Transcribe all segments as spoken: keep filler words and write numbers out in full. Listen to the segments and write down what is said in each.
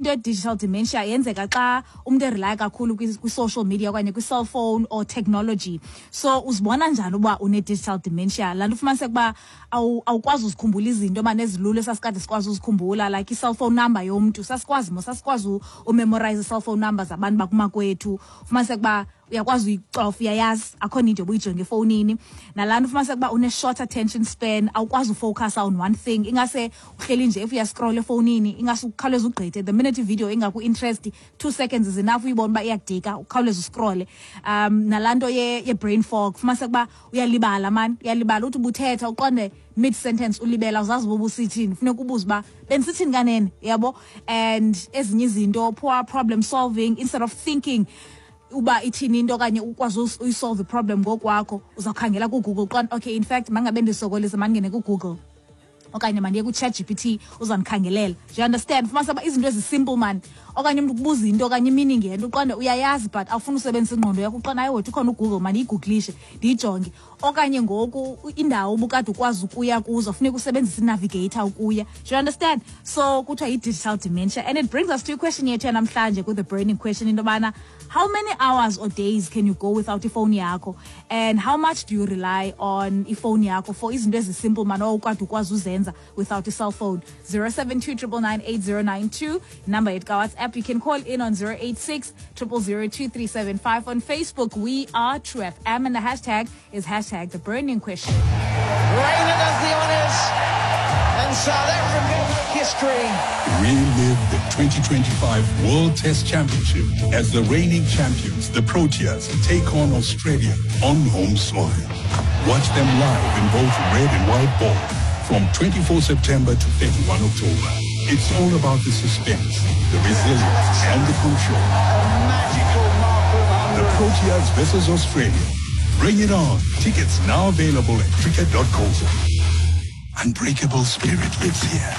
Into ye-digital dementia yenzeka xa umntu erelaya kakhulu kwi-social media okanye kwi-cellphone or technology. So uzibona njani uba une-digital dementia? Laa nto ufumaniseka uba awukwazi uzikhumbula izinto mane ezilula esasikade sikwazi uzikhumbula, like i-cellphone number yomntu. Sasikwazi mo sasikwazi umemorize i-cellphone number zabantu bakumakwethu. Ufumaniseka uba uyakwazi uyicofa, uyayazi, akho need yoba uyijonge efowunini. Nalaa nto ufumaniseka uba une-short attention span, awukwazi ufocusa on one thing. Ingase uhleli nje, if uyascrolla efowunini, ingase ukhawuleze ugqithe. The minute ivideo ingaku-interest, two seconds is enough uyibone uba iyakudika, ukhawuleze uscrolle. um nalaa nto ye-brain fog, ufumaniseka uba uyalibala mani, uyalibala. Uthi ubuthetha, uqonde mid sentence ulibela, awuzazi uba ubusithini, funeka ubuze uba bendisithini kanene, yabo. And ezinye izinto, poor problem solving. Instead of thinking uba ithini into okanye ukwazi uyisolve iproblem ngokwakho, uzawukhangela kuGoogle. Qonda, okay, in fact mangabe ndisokolisa, mandingene kuGoogle okanye mandiye ku-Chat G P T, uzandikhangelela. Do you understand? Fumanisa uba izinto ezisimple man, okanye umntu kubuza into okanye imeaning yento, uqonde uyayazi but awufuna usebenzisa ingqondo yakho, uqonda, hayi wethu, ukhona uGoogle, mandiyigugulishe ndiyijonge. Okanye ngoku indawo ubukade ukwazi ukuya kuzo, funeka usebenzise inavigator ukuya. Do you understand? So kuthiwa yi-digital dementia. And it brings us to iquestion yethu yanamhlanje with the burning question, into yobana how many hours or days can you go without ifowuni yakho, and how much do you rely on ifowuni yakho for izinto ezisimple man owukade ukwazi uzenza without i-cell phone? zero seven two nine nine nine eight zero nine two, number yethu kaWhatsApp. You can call in on zero eight six zero zero zero two three seven five. On Facebook, we are True F M and the hashtag is hashtag the burning question. Raina does the honours, and South Africa make history. Relive the twenty twenty-five World Test Championship as the reigning champions, the Proteas, take on Australia on home soil. Watch them live in both red and white ball from twenty-four September to thirty-one October. It's all about the suspense, the resilience, and the control. A magical mark of The one hundred. Proteas versus Australia. Bring it on. Tickets now available at cricket dot co. Unbreakable spirit lives here.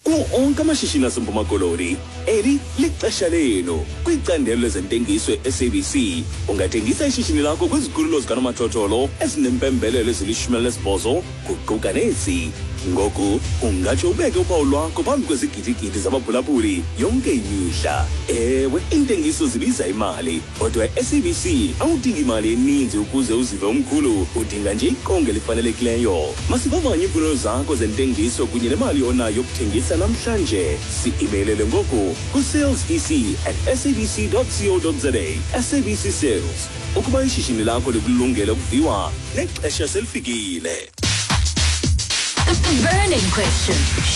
Kuwo onke amashishini aseMpuma Koloni, eli lixesha lenu kwicandelo lezentengiso e-S A B C. Ungathengisa ishishini lakho kwizikhululo zikanomathotholo ezinempembelelo ezilishumi elinesibhozo, kuquka nezi. Ngoku ungatsho ubeke uphawu lwakho phambi kwezigidigidi zabaphulaphuli yonke imihla. Ewe, iintengiso zibiza imali, kodwa e-S A B C awudingi imali eninzi ukuze uzive umkhulu, udinga nje iqonga elifanelekileyo. Masivavanye iimfuno zakho zentengiso kunye nemali onayo yokuthengisa namhlanje. Si-imeylele ngoku ku-sales E C at sabc co za. S A B C Sales, ukuba ishishini lakho likulungele ukuviwa, nexesha selifikile. The burning question.